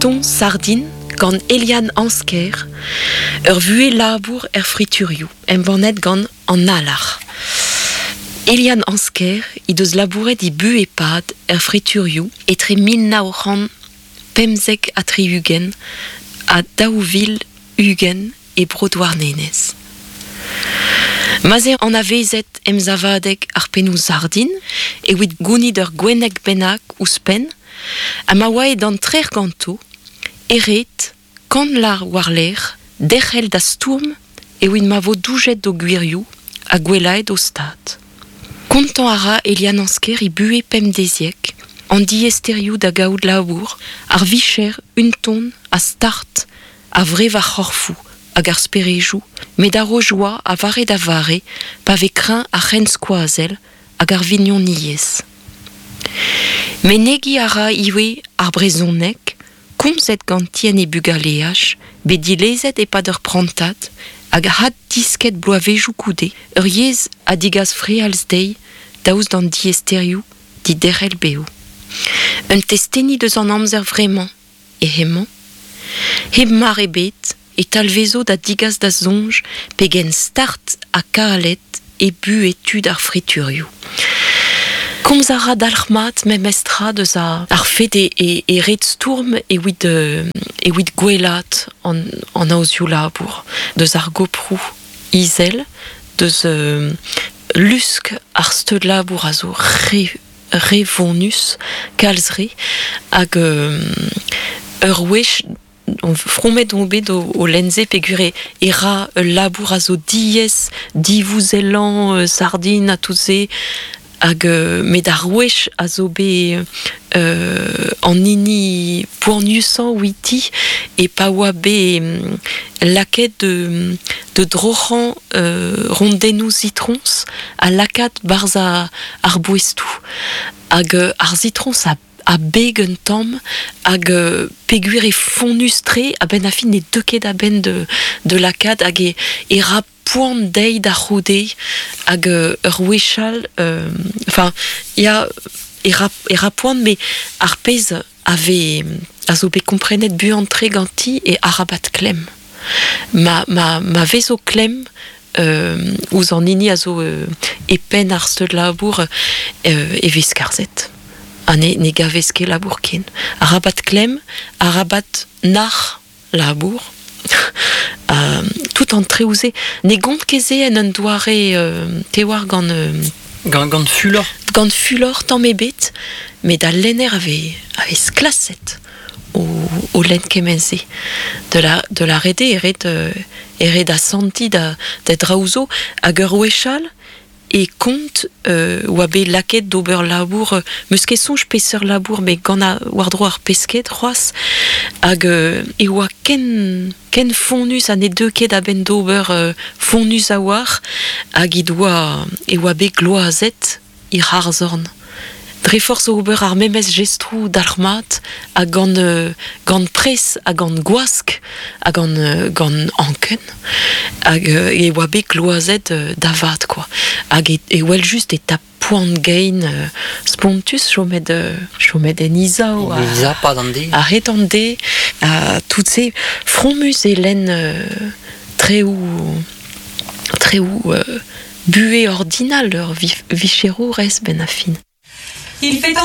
Ton Sardin gant Eliane Ansker, ur vuhez labour er friturioù, embannet gant An Alarc'h. Eliane Ansker he deus labouret he buhez-pad er friturioù etre 1975 ha 2020 e Bro-Douarnenez. Ma'z eo anavezet emsavadeg ar pennoù sardin evit gounit ur gwenneg bennak ouzhpenn ha ma oa aet an trec'h ganto e red kant lâr war-lerc'h derc'hel da stourm evit ma vo doujet d'o gwirioù ha gwellaet o stad. Kontañ a ra Eliane Ansker he buhez pemdeziek, an diaesterioù da gaout labour, ar vicher unton ha start a vrev ar c'horfoù hag ar sperejoù, met a ro joa a vare da vare pa vez kreñv ar c'henskoazell hag ar vignoniezh. Menegiñ a ra ivez ar brezhoneg, komzet ganti en he bugaleaj, bet dilezet e-pad ur prantad hag haddisket bloavezhioù goude, ur yezh a digas frealz dezhi daoust d'an diaesterioù diderc'hel bev. Un testeni deus an amzer vremañ eo hemañ. Hep mar ebet e talvezo da digas da soñj pegen start ha kalet e buhez tud ar friturioù. Komz a ra dalc'hmat memestra deus ar fed e, e ret stourm evit, evit gwellaat an, an aozioù labour, deus ar goproù izel, deus lusk ar steud labour a zo re re vonus, kalz re, hag ur wech fromet on bet o lenn se peogwir e ra ul labour a zo diaes, divouzellañ sardin ha tout se hag met ar wech a zo bet an hini poaniusañ outi e pa oa bet lakaet da droc'hañ rondennoù sitroñs ha lakaat 'barzh ar boestoù hag ar sitroñs a a beg un tamm hag peogwir eo fonnus-tre a-benn ar fin ne deu ket a-benn de lakaat hag e e ra poan dezhi da c'houde hag ur wech all enfin ya e ra e ra poan met ar pezh a vez a zo bet komprenet buan-tre ganti eo arabat klemm. Ma ma ma vezo klemm ouzh an hini a zo e penn ar steud labour e vez skarzhet ha ne ne gavez ket labour ken. Arabat klemm, arabat nac'h labour. Tout an traoù-se ne gont ket se en un doare te oar gant Gant, gant fulor? Gant fulor tamm ebet, met al lenner a vez, a vez klaset o, o lenn kement-se. De la, de la ret eo e ret, e ret asantiñ da, da draoù zo. Hag ur wech all e kont oa bet lakaet d'ober labour, 'meus ket soñj peseurt labour, met gant war-dro ar pesked c'hoazh. Hag e oa ken, ken fonnus ha ne deu ket a-benn d'ober fonnus a-walc'h hag he doa e oa bet gloazet he c'harzorn. Dre forzh ober ar memes jestroù dalc'hmat ha gant gant pres ha gant gwask ha gant gant anken hag e oa bet gloazet da vat kwa. Hag e wel just e tap poan-gein spontus chomet chomet en Izao a-hed an deiz ha tout se fromus e lenn treoù treoù buhez ordinal ur vicherourez benn ar fin. Il fait